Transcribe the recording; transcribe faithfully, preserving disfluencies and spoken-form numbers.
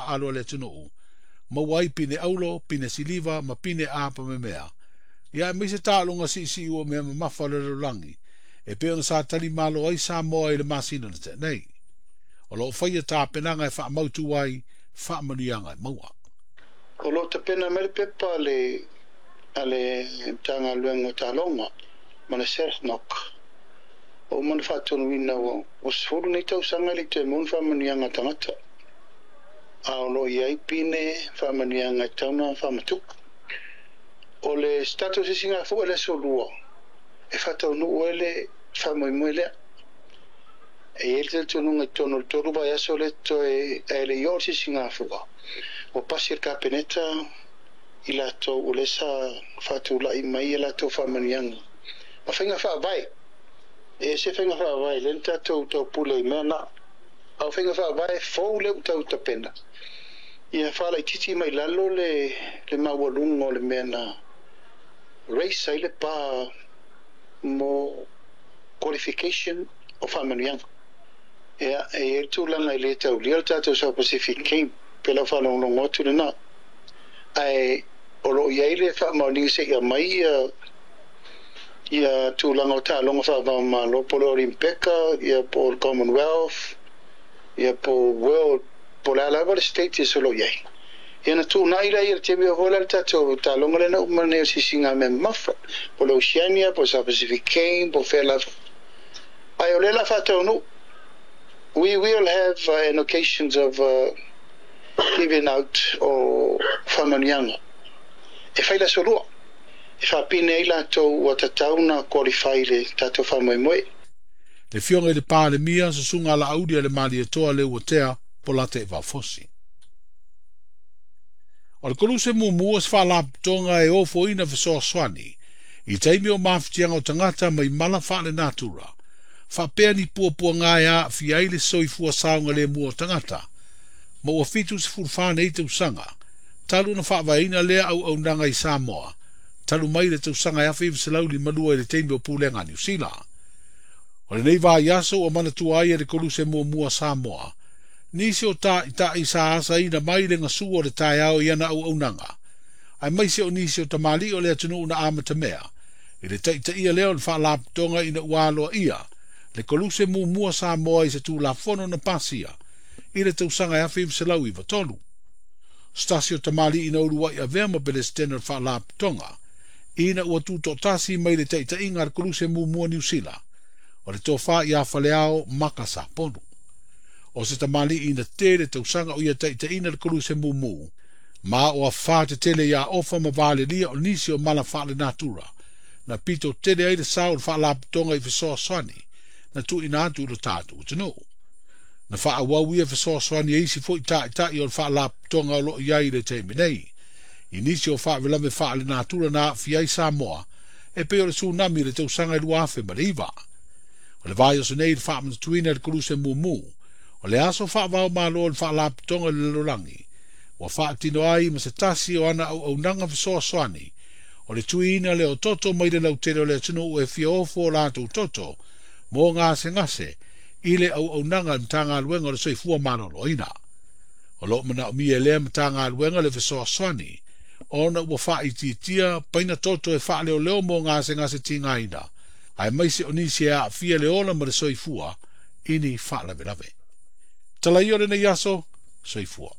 taaalo a le atunuu, maua ai pine aulo, pine siliva ma pine apamemea. Ia aemaise taaloga siisii ua mea mamafa o le lalolagi, e pei ona sa talimalo ai Samoa i le masina na tea nei. O loo faia tapenaga e faamautu ai faamanuiaga e maua. O loo tapena mai le pepa a le a le Matagaluega o Taaloga ma le SASNOC ua uma ona faatonuina ua ua sefulu nei tausaga e le i toe maua ni faamanuiaga a tagata a o loo i ai pine faamanuiaga e tatau ona faamatupu. O le se tatou sisigafua i le aso lua e faataunuu ai le faamoemoe lea. E i ai le talitonuga i totonu o le tolu vaiaso lea totoe ae le i oo le sisigafua ua pasi e le Kapeneta i latou o lea sa faatulai mai a latou faamanuiaga ma faiga faavae. E ese faiga faavae lea na tatou taupule i mea na. A o faiga faavae fou lea ua tau tapena ia faalaitiiti mai lalo le le maualuga o le mea na raise ai le pa mo qualification o faamanuiaga. Ia, e i ai le tulaga e le taulia le tatou South Pacific Game pe lau faalogologo atu lena. Ae o loo i ai le faamaoniga se i aumai ia ia tulaga o taaloga faava-o-Malo po o le Olimpeka, ia po o le Commonwealth, ia po o World, po o le a lava le status o lo o i ai. Ia ona tuunai lea i le taimi o foi la le tatou taaloga lea na uma nei o le sisiga mea mamafa, po o le Oceania, po o le South Pacific Game, po o fea lava. Ae o lea o le a faataunuu. We will have uh, an occasions of uh, giving out o faamanuiaga e fai le aso lua e faapine ai latou ua tatau ona qualify i le tatou faamoemoe. Le Afioga i le Palemia, Susuga Laauli a le Malietoa Leuatea Polataivao Fosi. O le koluse muamua o se faalapotopotoga e ofoina fesoasoani i taimi o mafatiaga o tagata mai mala faalenatura, faapea ni puapuaga e aafia ai le soifua saogalemu o tagata, ma ua fitu sefulu fa nei tausaga talu ona faavaeina lea auaunaga i Samoa, talu mai le tausaga e afe iva selau lima lua i le taimi o pulega a Niu Sila. O lenei vaiaso ua manatua ai e le koluse muamua Samoa nisi o ta'ita'i sa asaina mai le gasua o le taeao i ana auaunaga, aemaise o nisi o tamalii o le atunuu na amatamea i le taitaia lea o le faalapotopotoga ina ua aloaia le koluse muamua Samoa i se Tulafono na pasia i le tausaga e afe iva selau iva tolu. Se tasi o tamalii na uluai avea ma Pelesitene o le faalapotopotoga ina ua tutoatasi mai le taitaiga a le koluse muamua Niu Sila, o le tofa ia Faleao Maka Saponu. O se tamalii na tele tausaga o ia taitaiina le koluse mumu, ma o afa tetele ia ofa ma valelia o nisi o mala faalenatura, na pito tele ai le sao o le faalapotopotoga i fesoasoani na tuuina atu i lo tatou atunuu. Na faaauau ia fesoasoani e isi foi ta'ita'i o le faalapotopotoga o loo i ai i le taimi nei i nisi o faalavelave faalenatura na aafia ai Samoa e pei o le tsunami i le tausaga e lua afe ma le iva. O le vaiaso nei i le faamanatuina i le koluse mumu, o le aso faava-o-Malo o le faalapotopotoga i le lalolagi, ua faatino ai ma se tasi o ana auaunaga fesoasoani, o le tuiina lea o toto mai le lautele o le atunuu e fia ofo o latou toto mo gasegase i le auaunaga a le Matagaluega o le Soifua Maloloina. O loo manaomia e lea Matagaluega le fesoasoani ona ua faaitiitia paina toto e faaleoleo mo gasegase tigaina, aemaise o nisi e aafia le ola ma le soifua i ni faalavelave. Talaia o lenei aso, soifua.